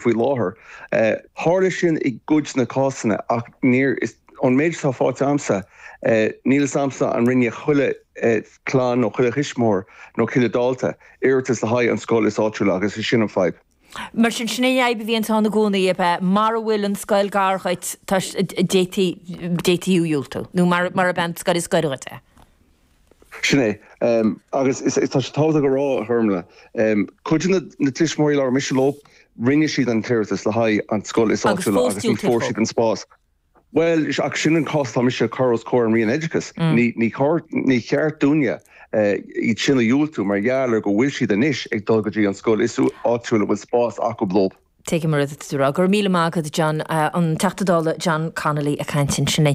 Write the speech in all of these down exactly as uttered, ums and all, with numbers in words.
Faoi láthair, tharla sin i gcuid na cásanna, ach níor is an méid atá faighte agamsa, níl a fhios agamsa an rinne chuile chlann nó chuile thuismitheoir nó chuile dalta iarratas le haghaidh an scoil is áitiúla, agus is sin an fadhb. Mar sin, sin é fhadhb a bhíonn ann i gcónaí, ab ea? Mara bhfuil an scoil gar dhuit, d'fhéadfaí d'fhéadfaí diúltú, nó mar ab an scoil is gaire dhuit é. Sin é, agus tá sé tábhachtach a rá, a Ghormfhlaith, cuid de na tuismitheoirí a labhair mise leo, rinne siad an t-iarratas le haghaidh an scoil is áitiúla agus ní fuair siad an spás. Well, ach sin an cás tá mise chur os comhair an Roinn Oideachais. Ní ní cheart dúinne iad sin a dhiúltú mar gheall ar go bhfuil siad anois ag dul go dtí an scoil is áitiúla bhfuil spás acu leo. Tuigim an rud atá tú a rá. Go raibh míle maith agat, John, an Teachta Dála John Connolly ag caint ansin.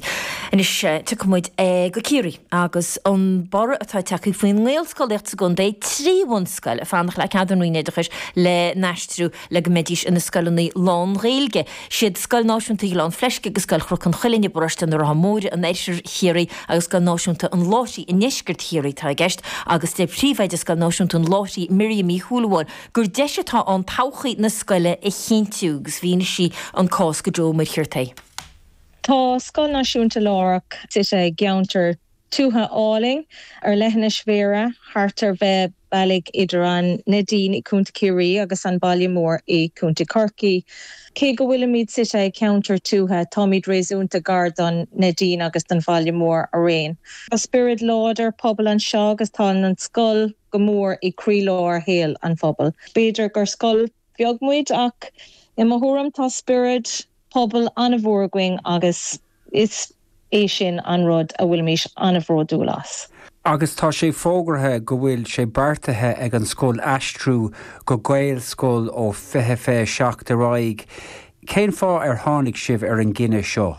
Anois tiocfaidh muid go Ciarraí agus an borradh atá tagtha faoin nGaelscolaíocht sa gcontae, trí bhunscoil ag fanacht le cead an Roinn Oideachais le n-aistriú le go mbeidís ina scoileanna lán-Ghaeilge. Siad Scoil Náisiúnta Ghleann Fleisce agus Scoil Chnoc an Chuilinn i bparóiste na Rátha Móire in oirthear Chiarraí agus Scoil Náisiúnta an Láithrigh i ndeisceart Chiarraí atá i gceist, agus deir príomhoide Scoil Náisiúnta an Láithrigh, Miriam Uí Shúilleabháin, gur deis atá ann todhchaí na scoile a chinntiú, agus mhínigh sí an cás go Joe Ó Muircheartaigh. Tá Scoil Náisiúnta Lárach suite i gceantar tuaithe álainn ar leithinis Bhéarra, thart ar mheath bealaigh idir an Neidín i gContae Chiarraí agus an baile mór i gContae Chorcaí. Cé go bhfuilimid suite i gceantar tuaithe, táimid réasúnta gar don Neidín agus don bhaile mór araon. Tá spiorad láidir pobail anseo agus tá an scoil go mór i gcroílár shaol an phobail. B'fhéidir gur scoil bheag muid, ach i mo thuairim tá spiorad pobail an-mhór againn agus is é sin an rud a bhfuilimid an-bhródúil as. Agus tá sé fógartha go bhfuil sé beartaithe ag an scoil aistriú go Gaelscoil ó fiche fiche seacht ar aghaidh. Cén fáth ar tháinig sibh ar an gcinneadh seo?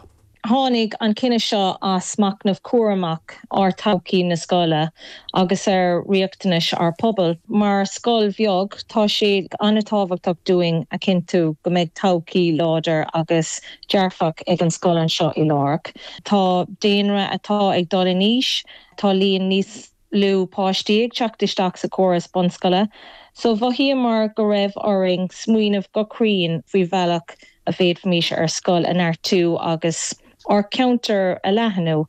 Tháinig an cinneadh seo as machnamh cúramach ar thodhchaí na scoile agus ar riachtanais ár pobail. Mar scoil bheag, tá sé an-tábhachtach dúinn a chinntiú go mbeidh todhchaí láidir agus dearfach ag an scoil anseo i Lárach. Tá daonra atá ag dul in aois, tá líon níos lú páistí ag teacht isteach sa chóras bunscoile, so mhothaíomar go raibh orainn smaoineamh go cruinn faoi bhealach a bhféadfaimis ár scoil a neartú agus ár ceantar a leathnú.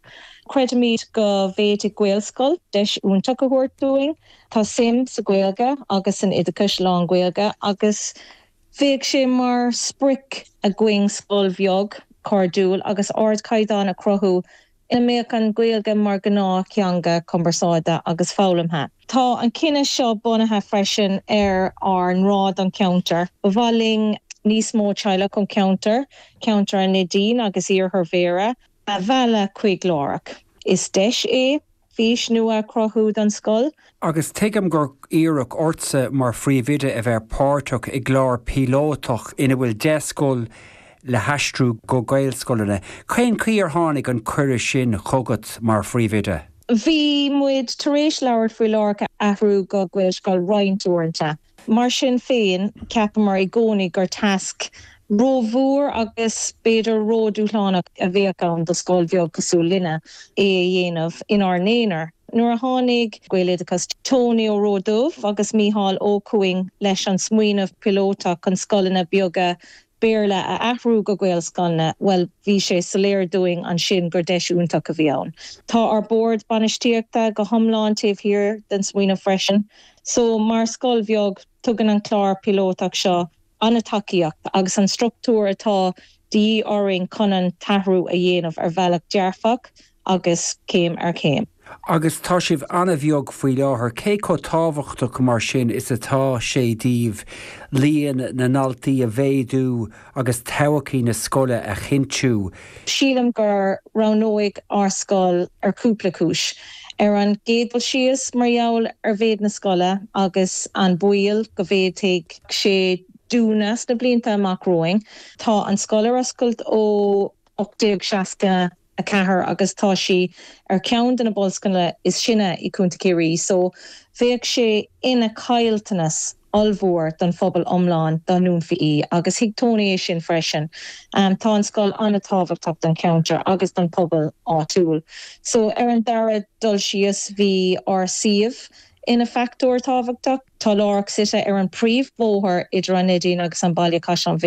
Creidimid go bhféadfaidh Gaelscoil deis iontach a thabhairt dúinn. Tá suim sa Ghaeilge agus san oideachas lán-Ghaeilge agus bheadh sé mar sprioc againn scoil bheag, cairdiúil agus ardchaighdeán a chruthú ina mbeadh an Ghaeilge mar ghnáth-theanga cumarsáide agus foghlamtha. Tá an cinneadh seo bunaithe freisin ar ár ngrá don cheantar. Ba mhaith linn níos mó teaghlach ón cheantar, ceantar an Neidín agus iarthar Bhéarra, a mhealladh chuig Lárach. Is deis é fís nua a chruthú don scoil. Agus tuigim gur iarradh ortsa mar phríomhoide a bheith páirteach i gclár píolótach ina bhfuil deich scoil le haistriú go Gaelscoileanna. Cén chaoi ar tháinig an cuireadh sin chugat mar phríomhoide? Bhí muid tar éis labhairt faoi Lárach a athrú go Gaelscoil roinnt uaireanta. Mar sin féin, cheapamar i gcónaí gur tasc rómhór agus b'fhéidir ródhúshlánach a bheadh ann do scoil bheag cosúil linne é a dhéanamh inár n-aonar. Nuair a tháinig Gaeloideachas, Tony Ó Ródubh agus Mícheál Ó chugainn leis an smaoineamh píolótach chun scoileanna beaga Béarla a athrú go Gaelscoileanna, bhuel, bhí sé soiléir dúinn ansin gur deis iontach a bhí ann. Tá ár bord bainistíochta go hiomlán taobh thiar den smaoineamh freisin. So mar scoil bheag, tugann an clár píolótach seo an-tacaíocht agus an struchtúr atá de dhíth orainn chun an t-athrú a dhéanamh ar bhealach dearfach agus céim ar chéim. Agus tá sibh an-bheag faoi láthair, cé chomh tábhachtach mar sin is atá sé daoibh líon na ndaltaí a mhéadú agus todhchaí na scoile a chinntiú? Sílim gur roghnaíodh ár scoil ar chúpla cúis. Ar an gcéad dul síos, mar gheall ar mhéid na scoile agus an baol go bhféadfaidh sé dúnadh sna blianta amach romhainn. Tá an scoil ar oscailt ó ocht déag seasca a ceathair agus tá sí ar cheann de na bunscoileanna is sine i gContae Chiarraí, so bheadh sé ina chaillteanas ollmhór don phobal iomlán dá ndúnfaí í, agus thuig Tony é sin freisin. Tá an scoil an-tábhachtach don cheantar agus don phobal áitiúil. So ar an dara dul síos, bhí ár suíomh ina factor tábhachtach. Tá Lárach suite ar an príomhbhóthar idir an Neidín agus an Baile Caisleán Bhéarra.